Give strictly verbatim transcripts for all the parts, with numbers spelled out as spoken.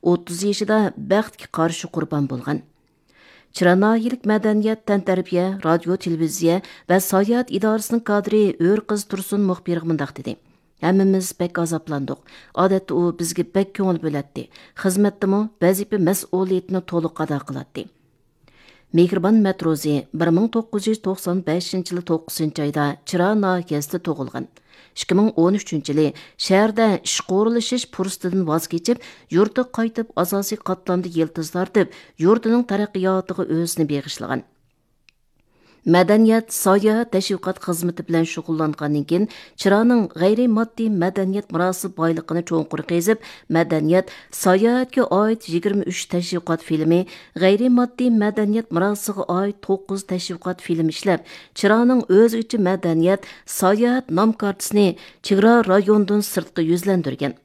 ئوتتۇز يېشىدا بەختكە قارشى قۇربان بولغان. چىرا ناھىيەلىك مەدەنىيەت، تەنتەربىيە، رادىيو، تېلېۋىزىيە ۋە ساياھەت ئىدارىسىنىڭ كادىرى ئۆرقىز تۇرسۇن مۇخبىرغا مۇنداق دېدى: «ھەممىمىز بەك ئازابلاندۇق. ئادەتتە ئۇ بىزگە بەك كۆڭۈل بۆلەتتى. خىزمەتتىمۇ ۋەزىپە مەسئۇلىيىتىنى تولۇق ئادا قىلاتتى.» مېھرىبان مەتروزى بىر مىڭ توققۇز يۈز توقسان بەشىنچى يىلى توققۇزىنچى ئايدا چىرا ناھىيەسىدە تۇغۇلغان. ئىككى مىڭ ئون ئۈچىنچى يىلى شەھەردە ئىشقا ئورۇنلىشىش پۇرسىتىدىن ۋاز كېچىپ، يۇرتىغا قايتىپ، ئاساسىي قاتلامدا يىلتىز تارتىپ، يۇرتىنىڭ تەرەققىياتىغا ئۆزىنى بېغىشلىغان. مەدەنىيەت، ساياھەت، تەشۋىقات خىزمىتى بىلەن شۇغۇللانغاندىن كېيىن، چىرانىڭ غەيرىي ماددىي مەدەنىيەت مىراسى بايلىقىنى چوڭقۇر قېزىپ، مەدەنىيەت، ساياھەتكە ئائىت يىگىرمە ئۈچ تەشۋىقات فىلىمى، غەيرىي ماددىي مەدەنىيەت مىراسىغا ئائىت توققۇز تەشۋىقات فىلىم ئىشلەپ، چىرانىڭ ئۆزگىچە مەدەنىيەت، ساياھەت نام كارتىسىنى چېگرا رايونىدىن سىرتقا يۈزلەندۈرگەن.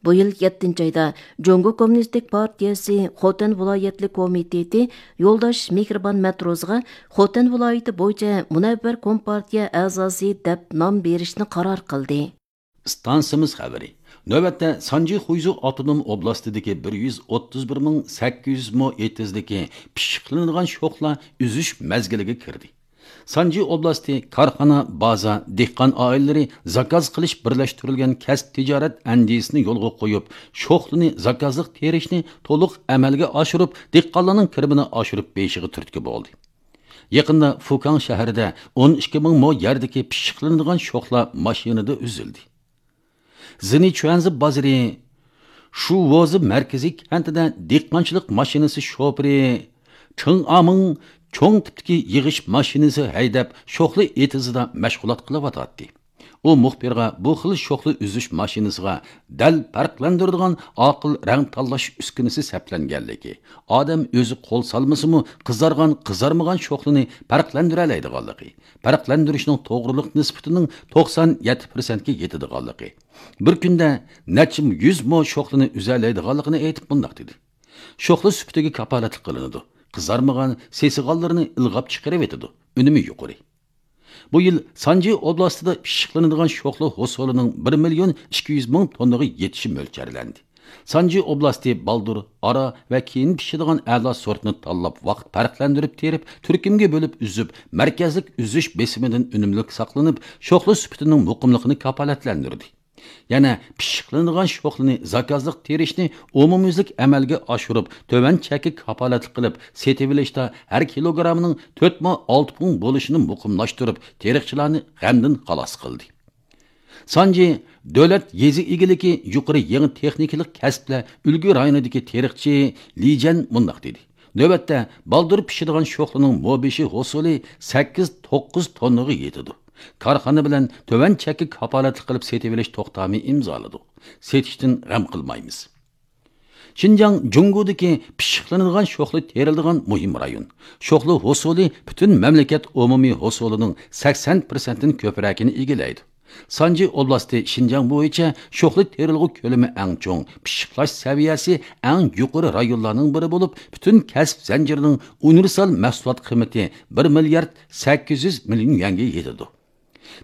بۇ يىل يەتتىنچى ئايدا جۇڭگو كوممۇنىستىك پارتىيەسى خوتەن ۋىلايەتلىك كومىتېتى يولداش مېھرىبان مەتروزىغا خوتەن ۋىلايىتى بويىچە مۇنەۋۋەر كومپارتىيە ئەزاسى دەپ نام بېرىشنى قارار قىلدى. ئىستانسىمىز خەۋىرى. نۆۋەتتە سانجى خۇيزۇ ئاپتونوم ئوبلاستىدىكى بىر يۈز ئوتتۇز بىر مىڭ سەككىز يۈز مو ئېتىزدىكى پىششىقلىنىدىغان شوخلا ئۈزۈش مەزگىلىگە كىردى. سانجى ئوبلاستى كارخانا، بازا، دېھقان ئائىلىلىرى زاكاز قىلىش بىرلەشتۈرۈلگەن كەسىپ تىجارەت ئەندىزىسىنى يولغا قويۇپ، شوخلىنى زاكازلىق تېرىشنى تولۇق ئەمەلگە ئاشۇرۇپ، دېھقانلارنىڭ كىرىمىنى ئاشۇرۇپ بېرىشىغا تۈرتكە بولدى. يېقىندا فۇكاڭ شەھىرىدە ئون ئىككى مىڭ مو يەردىكى پىششىقلىنىدىغان شوخلا ماشىنىدا ئۈزۈلدى. زېنىچۈەنزى بازىرى شۇۋوزى مەركىزىي كەنتىدە دېھقانچىلىق ماشىنىسى شوپۇرى چېڭ ئامىڭ چوڭ تىپتىكى يىغىش ماشىنىسى ھەيدەپ، شوخلا ئېتىزىدا مەشغۇلات قىلىۋاتاتتى. ئۇ مۇخبىرغا بۇ خىل شوخلا ئۈزۈش ماشىنىسىغا دەل پەرقلەندۈرىدىغان ئاقىل رەڭ تاللاش ئۈسكۈنىسى سەپلەنگەنلىكى، ئادەم ئۆزى قول سالمىسىمۇ، قىزارغان، قىزارمىغان شوخلىنى پەرقلەندۈرەلەيدىغانلىقى، پەرقلەندۈرۈشنىڭ توغرىلىق نىسبىتىنىڭ توقسان يەتتە پىرسەنتكە يېتىدىغانلىقى، بىر كۈندە نەچچە يۈز مو شوخلىنى ئۈزەلەيدىغانلىقىنى ئېيتىپ مۇنداق دېدى: «شوخلا سۈپىتىگە كاپالەتلىك قىلىنىدۇ. قىزارمىغان، سېسىغانلىرىنى ئىلغاپ چىقىرىۋېتىدۇ. ئۈنۈمى يۇقىرى.» بۇ يىل سانجى ئوبلاستىدا پىششىقلىنىدىغان شوخلا ھوسۇلىنىڭ بىر مىليون ئىككى يۈز مىڭ توننىغا يېتىشى مۆلچەرلەندى. سانجى ئوبلاستى بالدۇر، ئارا ۋە كېيىن پىشىدىغان ئەلا سورتنى تاللاپ، ۋاقىت پەرقلەندۈرۈپ تېرىپ، تۈركۈمگە بۆلۈپ ئۈزۈپ، مەركەزلىك ئۈزۈش بېسىمىدىن ئۈنۈملۈك ساقلىنىپ، شوخلا سۈپىتىنىڭ مۇقىملىقىنى كاپالەتلەندۈردى. يەنە پىششىقلىنىدىغان شوخلىنى زاكازلىق تېرىشنى ئومۇميۈزلۈك ئەمەلگە ئاشۇرۇپ، تۆۋەن چەككە كاپالەتلىك قىلىپ سېتىۋېلىشتا ھەر كىلوگرامىنىڭ تۆت مو ئالتە پۇڭ بولۇشىنى مۇقىملاشتۇرۇپ، تېرىقچىلارنى غەمدىن خالاس قىلدى. سانجى دۆلەت يېزا ئىگىلىكى يۇقىرى يېڭى تېخنىكىلىق كەسىپلەر ئۈلگە رايونىدىكى تېرىقچى لىجەن مۇنداق دېدى: «نۆۋەتتە بالدۇر پىشىدىغان شوخلىنىڭ مو بېشى ھوسۇلى سەككىز توققۇز توننىغا يېتىدۇ. كارخانا بىلەن تۆۋەن چەككە كاپالەتلىك قىلىپ سېتىۋېلىش توختامى ئىمزالىدۇق. سېتىشتىن غەم قىلمايمىز.» شىنجاڭ جۇڭگودىكى پىششىقلىنىدىغان شوخلا تېرىلىدىغان مۇھىم رايون. شوخلا ھوسۇلى پۈتۈن مەملىكەت ئومۇمىي ھوسۇلىنىڭ سەكسەن پىرسەنتتىن كۆپرەكىنى ئىگىلەيدۇ. سانجى ئوبلاستى شىنجاڭ بويىچە شوخلا تېرىلغۇ كۆلىمى ئەڭ چوڭ، پىششىقلاش سەۋىيەسى ئەڭ يۇقىرى رايونلارنىڭ بىرى بولۇپ، پۈتۈن كەسىپ زەنجىرىنىڭ ئۇنىۋېرسال مەھسۇلات قىممىتى بىر مىليارد سەككىز يۈز مىليون يۈەنگە يېتىدۇ.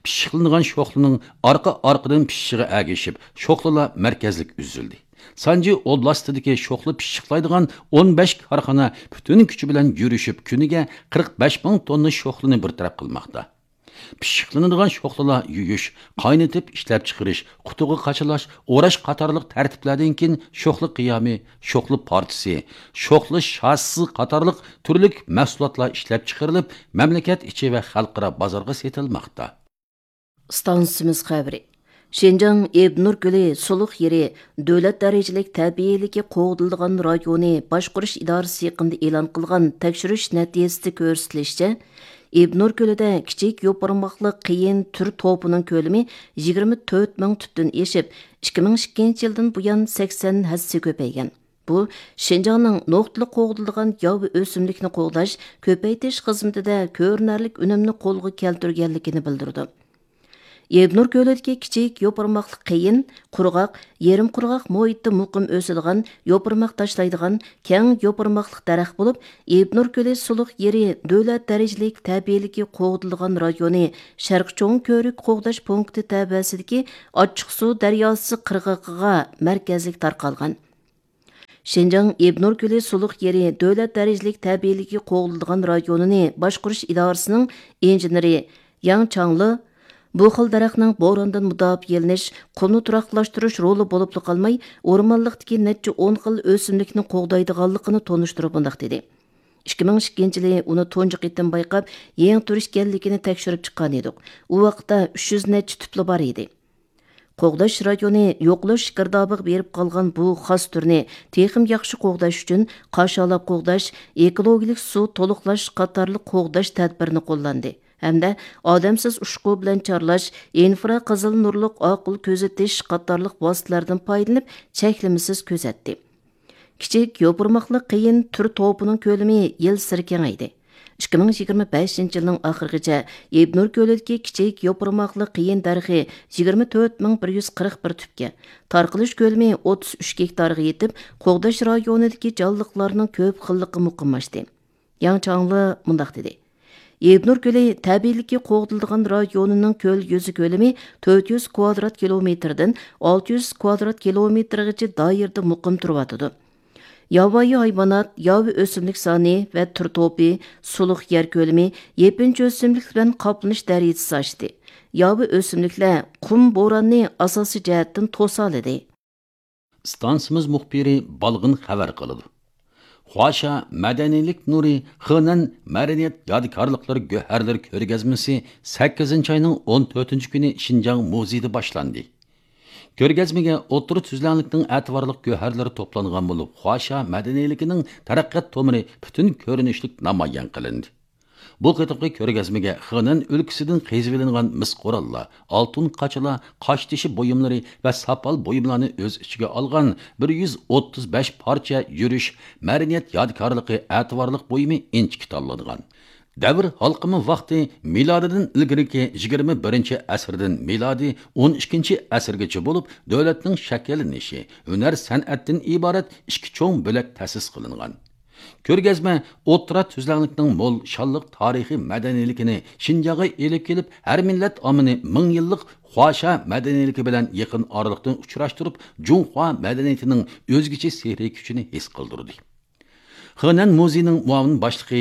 پىششىقلىنىدىغان شوخلىنىڭ ئارقا-ئارقىدىن پىشىشىغا ئەگىشىپ، شوخلىلار مەركەزلىك ئۈزۈلدى. سانجى ئوبلاستىدىكى شوخلا پىششىقلايدىغان ئون بەش كارخانا پۈتۈن كۈچى بىلەن يۈرۈشۈپ، كۈنىگە قىرىق بەش مىڭ توننا شوخلىنى بىر تەرەپ قىلماقتا. پىششىقلىنىدىغان شوخلىلار يۇيۇش، قاينىتىپ ئىشلەپچىقىرىش، قۇتىغا قاچىلاش، ئوراش قاتارلىق تەرتىپلەردىن كېيىن شوخلا قىيامى، شوخلا پارچىسى، شوخلا شاسىسى قاتارلىق تۈرلۈك مەھسۇلاتلار ئىشلەپچىقىرىلىپ، مەملىكەت ئىچى ۋە خەلقئارا بازارغا سېتىلماقتا. ئىستانسىمىز خەۋىرى. شىنجاڭ ئىبنۇر كۆلى سۇلۇق يېرى دۆلەت دەرىجىلىك تەبىئىيلىكى قوغدىلىدىغان رايونى باشقۇرۇش ئىدارىسى يېقىندا ئېلان قىلغان تەكشۈرۈش نەتىجىسىدە كۆرسىتىلىشىچە، ئىبنۇر كۆلىدە كىچىك يوپۇرماقلىق قېيىن تۈر توپىنىڭ كۆلىمى يىگىرمە تۆت مىڭ تۈپتىن ئېشىپ، ئىككى مىڭ ئىككىنچى يىلدىن بۇيان سەكسەن ھەسسە كۆپەيگەن. بۇ، شىنجاڭنىڭ نۇقتىلىق قوغدىلىدىغان ياۋا ئۆسۈملۈكنى قوغداش، كۆپەيتىش خىزمىتىدە كۆرۈنەرلىك ئۈنۈمنى قولغا كەلتۈرگەنلىكىنى بىلدۈرىدۇ. ئىبنۇر كۆلىدىكى كىچىك يوپۇرماقلىق قېيىن، قۇرغاق، يېرىم قۇرغاق مۇھىتتا مۇقىم ئۆسىدىغان، يوپۇرماق تاشلايدىغان كەڭ يوپۇرماقلىق دەرەخ بولۇپ، ئىبنۇر كۆلى سۇلۇق يېرى دۆلەت دەرىجىلىك تەبىئىيلىكى قوغدىلىدىغان رايونى شەرقىي چوڭ كۆۋرۈك قوغداش پونكىتى تەۋەسىدىكى ئاچچىقسۇ دەرياسى قىرغىقىغا مەركەزلىك تارقالغان. شىنجاڭ ئىبنۇر كۆلى سۇلۇق يېرى دۆلەت دەرىجىلىك تەبىئىيلىكى قوغدىلىدىغان رايونىنى باشقۇرۇش ئىدارىسىنىڭ ئىنژېنېرى ياڭ چاڭلې بۇ خىل دەرەخنىڭ بوراندىن مۇداپىئەلىنىش، قۇمنى تۇراقلاشتۇرۇش رولى بولۇپلا قالماي، ئورمانلىقتىكى نەچچە ئون خىل ئۆسۈملۈكنى قوغدايدىغانلىقىنى تونۇشتۇرۇپ مۇنداق دېدى: «ئىككى مىڭ ئىككىنچى يىلى ئۇنى تۇنجى قېتىم بايقاپ، يېڭى تۈر ئىكەنلىكىنى تەكشۈرۈپ چىققان ئىدۇق. ئۇ ۋاقىتتا ئۈچ يۈز نەچچە تۈپلا بار ئىدى.» قوغداش رايونى يوقىلىش گىردابىغا بېرىپ قالغان بۇ خاس تۈرنى تېخىمۇ ياخشى قوغداش ئۈچۈن قاشالاپ قوغداش، ئېكولوگىيەلىك سۇ تولۇقلاش قاتارلىق قوغداش تەدبىرىنى قوللاندى ھەمدە ئادەمسىز ئۇچقۇ بىلەن چارلاش، ئىنفرا قىزىل نۇرلۇق ئاقىل كۆزىتىش قاتارلىق ۋاسىتىلەردىن پايدىلىنىپ، چەكلىمىسىز كۆزەتتى. كىچىك يوپۇرماقلىق قېيىن تۈر توپىنىڭ كۆلىمى يىلسېرى كېڭەيدى. ئىككى مىڭ يىگىرمە بەشىنچى يىلنىڭ ئاخىرىغىچە ئىبنۇر كۆلىدىكى كىچىك يوپۇرماقلىق قېيىن دەرىخى يىگىرمە تۆت مىڭ بىر يۈز قىرىق بىر تۈپكە، تارقىلىش كۆلىمى ئوتتۇز ئۈچ گېكتارغا يېتىپ، قوغداش رايونىدىكى جانلىقلارنىڭ كۆپ خىللىقى مۇقىملاشتى. ياڭ چاڭلې مۇنداق دېدى: «ئىبنۇر كۆلى تەبىئىيلىكى قوغدىلىدىغان رايونىنىڭ كۆل يۈزى كۆلىمى تۆت يۈز كۋادرات كىلومېتىردىن ئالتە يۈز كۋادرات كىلومېتىرغىچە دائىرىدە مۇقىم تۇرۇۋاتىدۇ. ياۋايى ھايۋانات، ياۋا ئۆسۈملۈك سانى ۋە تۈر توپى، سۇلۇق يەر كۆلىمى، يېپىنچا ئۆسۈملۈك بىلەن قاپلىنىش دەرىجىسى ئاشتى. ياۋا ئۆسۈملۈكلەر قۇم بوراننى ئاساسىي جەھەتتىن توسالىدى.» ئىستانسىمىز مۇخبىرى بالغىن خەۋەر قىلىدۇ. خۇاشيا مەدەنىيلىك نۇرى خېنەن مەدەنىيەت يادىكارلىقلىرى گۆھەرلىرى كۆرگەزمىسى سەككىزىنچى ئاينىڭ ئون تۆتىنچى كۈنى شىنجاڭ مۇزېيىدا باشلاندى. كۆرگەزمىگە ئوتتۇرا تۈزلەڭلىكنىڭ ئەتىۋارلىق گۆھەرلىرى توپلانغان بولۇپ، خۇاشيا مەدەنىيلىكىنىڭ تەرەققىيات تومۇرى پۈتۈن كۆرۈنۈشلۈك نامايان قىلىندى. بۇ قېتىمقى كۆرگەزمىگە خېنەن ئۆلكىسىدىن قېزىۋېلىنغان مىس قوراللار، ئالتۇن قاچىلار، قاشتېشى بۇيۇملىرى ۋە ساپال بۇيۇملارنى ئۆز ئىچىگە ئالغان بىر يۈز ئوتتۇز بەش پارچە يۈرۈش مەدەنىيەت يادىكارلىقى ئەتىۋارلىق بۇيۇمى ئىنچىكە تاللانغان. دەۋر ھالقىما ۋاقتى مىلادىدىن ئىلگىرىكى يىگىرمە بىرىنچى ئەسىردىن مىلادىي ئون ئىككىنچى ئەسىرگىچە بولۇپ، دۆلەتنىڭ شەكىللىنىشى، ھۈنەر سەنئەتتىن ئىبارەت ئىككى چوڭ بۆلەك تەسىس قىلىنغان. كۆرگەزمە ئوتتۇرا تۈزلەڭلىكنىڭ مول شانلىق تارىخىي مەدەنىيلىكىنى شىنجاڭغا ئېلىپ كېلىپ، ھەر مىللەت ئاممىنى مىڭ يىللىق خۇاشيا مەدەنىيلىكى بىلەن يېقىن ئارىلىقتىن ئۇچراشتۇرۇپ، جۇڭخۇا مەدەنىيىتىنىڭ ئۆزگىچە سېھرىي كۈچىنى ھېس قىلدۇردى. خېنەن مۇزېيىنىڭ مۇئاۋىن باشلىقى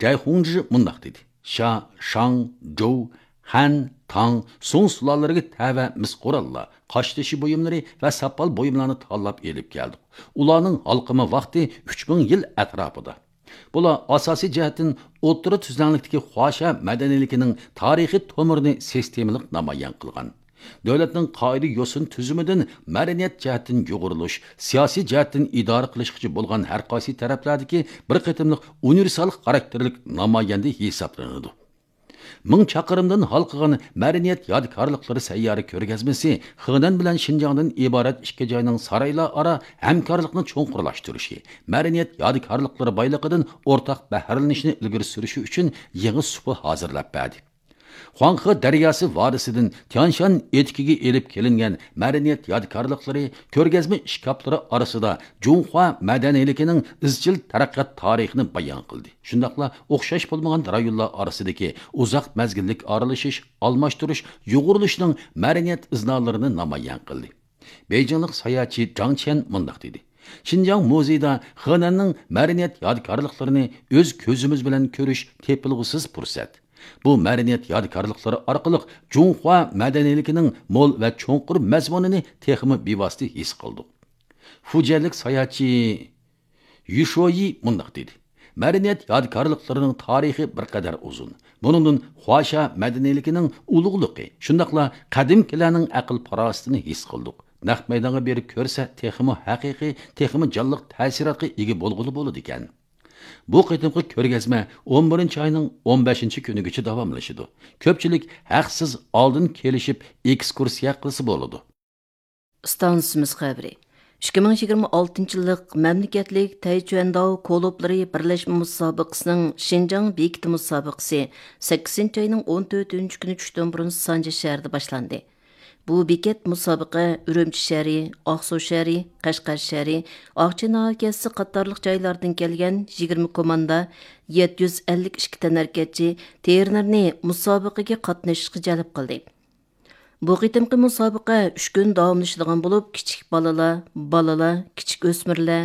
جەي خۇڭجى مۇنداق دېدى: «شا، شاڭ، جوۋ، خەن، تاڭ، سۇڭ سۇلالىلىرىگە تەۋە مىس قوراللار، قاشتېشى بۇيۇملىرى ۋە ساپال بۇيۇملارنى تاللاپ ئېلىپ كەلدۇق. ئۇلارنىڭ ھالقىما ۋاقتى ئۈچ مىڭ يىل ئەتراپىدا. بۇلار ئاساسىي جەھەتتىن ئوتتۇرا تۈزلەڭلىكتىكى خۇاشيا مەدەنىيلىكىنىڭ تارىخىي تومۇرىنى سىستېمىلىق نامايان قىلغان. دۆلەتنىڭ قائىدە يوسۇن تۈزۈمىدىن مەدەنىيەت جەھەتتىن يۇغۇرۇلۇش، سىياسىي جەھەتتىن ئىدارە قىلىشقىچە بولغان ھەر قايسى تەرەپلەردىكى بىر قېتىملىق ئۇنىۋېرسال خاراكتېرلىك نامايەندە ھېسابلىنىدۇ.» مىڭ چاقىرىمدىن ھالقىغان مەدەنىيەت يادىكارلىقلىرى سەييارە كۆرگەزمىسى خېنەن بىلەن شىنجاڭدىن ئىبارەت ئىككى جاينىڭ سارائىلار ئارا ھەمكارلىقنى چوڭقۇرلاشتۇرۇشى، مەدەنىيەت يادىكارلىقلىرى بايلىقىدىن ئورتاق بەھرىلىنىشنى ئىلگىرى سۈرۈشى ئۈچۈن يېڭى سۇپا ھازىرلاپ بەردى. خۇاڭخې دەرياسى ۋادىسىدىن تيانشان ئېتىكىگە ئېلىپ كېلىنگەن مەدەنىيەت يادىكارلىقلىرى، كۆرگەزمە ئىشكاپلىرى ئارىسىدا جۇڭخۇا مەدەنىيلىكىنىڭ ئىزچىل تەرەققىيات تارىخىنى بايان قىلدى. شۇنداقلا ئوخشاش بولمىغان رايونلار ئارىسىدىكى ئۇزاق مەزگىللىك ئارىلىشىش، ئالماشتۇرۇش، يۇغۇرۇلۇشنىڭ مەدەنىيەت ئىزنالىرىنى نامايان قىلدى. بېيجىڭلىق ساياھەتچى جاڭ چيەن مۇنداق دېدى: «شىنجاڭ مۇزېيىدا خېنەننىڭ مەدەنىيەت يادىكارلىقلىرىنى ئۆز كۆزىمىز بىلەن كۆرۈش تېپىلغۇسىز پۇرسەت. بۇ مەدەنىيەت يادىكارلىقلىرى ئارقىلىق جۇڭخۇا مەدەنىيلىكىنىڭ مول ۋە چوڭقۇر مەزمۇنىنى تېخىمۇ بىۋاسىتە ھېس قىلدۇق.» فۇجيەنلىك ساياھەتچى يۈشويى مۇنداق دېدى: «مەدەنىيەت يادىكارلىقلىرىنىڭ تارىخى بىر قەدەر ئۇزۇن. بۇنىڭدىن خۇاشيا مەدەنىيلىكىنىڭ ئۇلۇغلۇقى، شۇنداقلا قەدىمكىلەرنىڭ ئەقىل-پاراسىتىنى ھېس قىلدۇق. نەق مەيدانغا بېرىپ كۆرسە، تېخىمۇ ھەقىقىي، تېخىمۇ جانلىق تەسىراتقا ئىگە بولغىلى بولىدىكەن.» بۇ قېتىمقى كۆرگەزمە ئون بىرىنچى ئاينىڭ ئون بەشىنچى كۈنىگىچە داۋاملىشىدۇ. كۆپچىلىك ھەقسىز ئالدىن كېلىشىپ ئېكسكۇرسىيە قىلسا بولىدۇ. ئىستانسىمىز خەۋىرى. ئىككى مىڭ يىگىرمە ئالتىنچى يىللىق مەملىكەتلىك تەيچۈەنداۋ كولوبلىرى بىرلەشمە مۇسابىقىسىنىڭ شىنجاڭ بېكىتى مۇسابىقىسى سەككىزىنچى ئاينىڭ ئون تۆتىنچى كۈنى چۈشتىن بۇرۇن سانجى شەھىرىدە باشلاندى. بۇ بېكەت مۇسابىقە ئۈرۈمچى شەھىرى، ئاقسۇ شەھىرى، قەشقەر شەھىرى، ئاقچى ناھىيەسى قاتارلىق جايلاردىن كەلگەن يىگىرمە كوماندا، يەتتە يۈز ئەللىك ئىككى تەنھەرىكەتچى، تېرېنېرنى مۇسابىقىگە قاتنىشىشقا جەلپ قىلدى. بۇ قېتىمقى مۇسابىقە ئۈچ كۈن داۋاملىشىدىغان بولۇپ، كىچىك بالىلار، بالىلار، كىچىك ئۆسمۈرلەر،